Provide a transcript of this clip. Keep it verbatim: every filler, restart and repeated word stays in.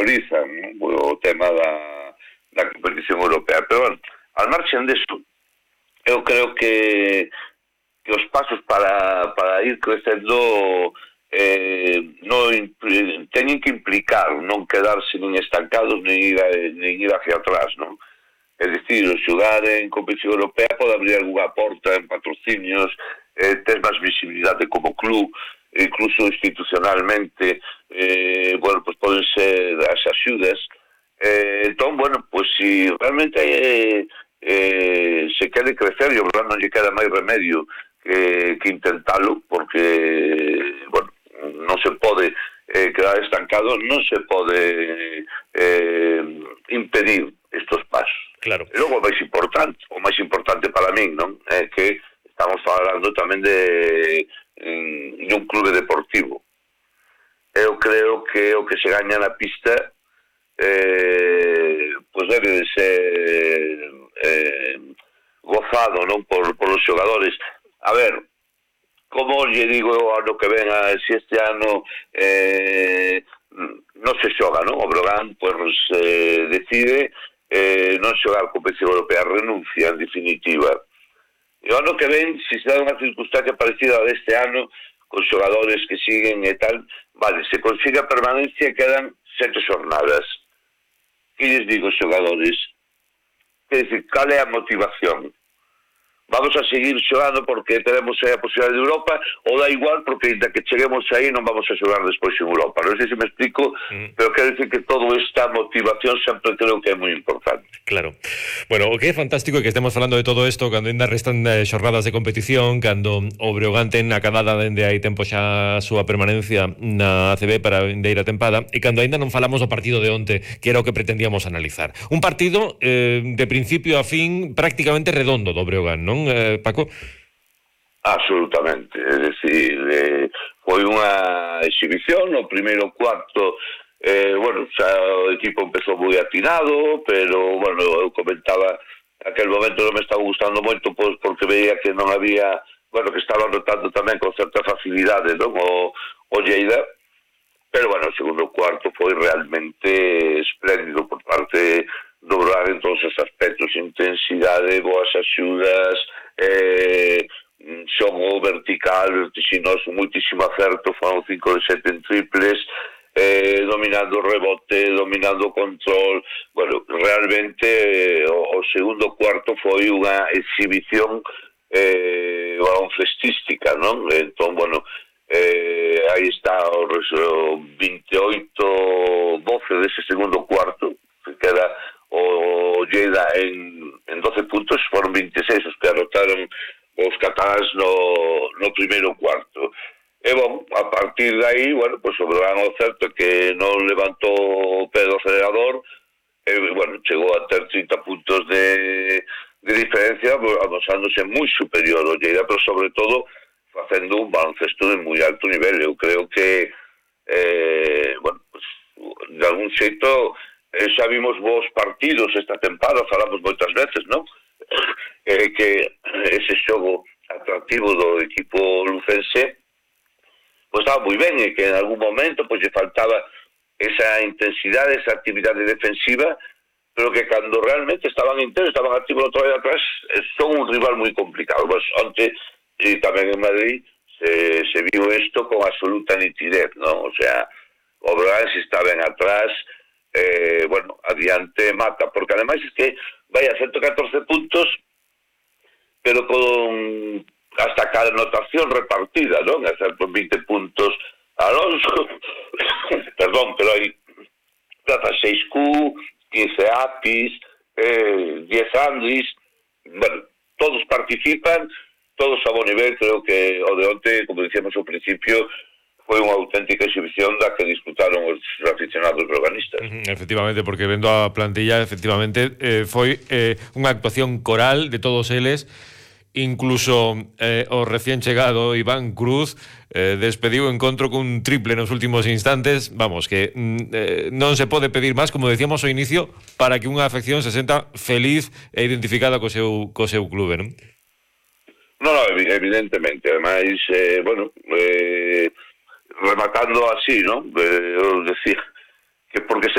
priorizan, non? O tema da, da competición europea. Pero, bueno, al marxen deso, eu creo que que os pasos para, para ir crecendo eh, non teñen que implicar non quedarse nin estancados nin ir, a, nin ir hacia atrás, non? É dicir, xogar en competición europea pode abrir algunha porta en patrocinios, eh, tes máis visibilidade como club, incluso institucionalmente, eh, bueno, pues poden ser as axudas. Eh, entón, bueno, pues si realmente eh, eh, se quere crecer, e o verdad non lle queda máis remedio que, que intentalo, porque, bueno, non se pode eh, quedar estancado, non se pode eh, impedir estos pasos. Claro. E logo o máis importante, o máis importante para min, non? É que estamos falando tamén de, de un clube deportivo. Eu creo que o que se gaña na pista eh, pues debe de ser eh, gozado, non? Por, por os xogadores. A ver, como lle digo ano que ven, a, si este ano eh, non se xoga, non? O Breogán pues, eh, decide eh, non xogar competición europea, renuncia en definitiva. E o ano que ven, se se dá unha circunstancia parecida a deste ano, con xogadores que siguen e tal, vale, se consigue a permanencia quedan sete xornadas. Que lles digo, xogadores? Quer dizer, cal é a motivación? Vamos a seguir xogando porque teremos aí a posibilidade de Europa, ou dá igual porque ainda que cheguemos aí non vamos a xogar despois en Europa. Non sei se me explico, mm. pero quero dicir que todo esta motivación sempre creo que é moi importante. Claro. Bueno, o que é fantástico é que estemos falando de todo isto cando ainda restan eh, xornadas de competición, cando o Breogán ten acabada dende hai tempo xa a súa permanencia na A C B para a vindeira tempada, e cando ainda non falamos do partido de onte, que era o que pretendíamos analizar. Un partido eh, de principio a fin prácticamente redondo do Breogán, non? Eh, Paco? Absolutamente, é dicir, eh, foi unha exhibición, no primeiro cuarto, eh, bueno, xa o equipo empezou moi atinado, pero, bueno, eu comentaba, aquel momento non me estaba gustando moito, pois, porque veía que non había, bueno, que estaba notando tamén con certa facilidade, non, o, o Lleida, pero, bueno, o segundo cuarto foi realmente espléndido por parte do Breogán en todos os aspectos, intensidade, boas axudas, eh, xogo vertical, vertiginoso, moitísimo acerto, foron cinco de sete en triples, eh, dominando o rebote, dominando o control. Bueno, realmente eh, o, o segundo cuarto foi unha exhibición eh, baloncestística, non? Entón, bueno, eh, aí está o, o veintioito doce dese segundo cuarto, que queda o Lleida en, en doce puntos, foron veintiséis os que anotaron os cataláns no, no primeiro cuarto. E, bom, a partir de aí, bueno, pues o Breogán o certo que non levantou o pé do acelerador, e, bueno, chegou a ter trinta puntos de, de diferencia, avanzándose moi superior ao Lleida, pero sobre todo facendo un baloncesto de moi alto nivel. Eu creo que, eh, bueno, pues, de algún xeito, Eh, xa vimos bons partidos esta tempada, falamos moitas veces, non? Eh, que ese xogo atractivo do equipo lucense pois estaba moi ben, e que en algún momento pois lle faltaba esa intensidade, esa actividade defensiva, pero que cando realmente estaban intensos, estaban activos outra vez atrás, son un rival moi complicado. Pois onte, e tamén en Madrid, se, se viu isto con absoluta nitidez, non? O sea, o Breogán se está ben atrás, Eh, bueno, adiante mata, porque ademais es que vai a ciento catorce puntos, pero con hasta cada anotación repartida, non? A ser con veinte puntos Alonso, perdón, pero hai plaza seis Q, quince Apis, eh, diez Andis, bueno, todos participan, todos a buen nivel. Creo que o de onte, como dicíamos ao principio, foi unha auténtica exhibición da que disfrutaron os aficionados breoganistas. Uh-huh, efectivamente, porque vendo a plantilla, efectivamente, eh, foi eh, unha actuación coral de todos eles, incluso eh, o recién chegado Iván Cruz eh, despediu o encontro cun triple nos últimos instantes. Vamos, que eh, non se pode pedir máis, como decíamos ao inicio, para que unha afección se senta feliz e identificada co seu, co seu clube, non? Non, non, evidentemente. Ademais, eh, bueno, eh, rematando así, ¿no? Eh, os decía que porque se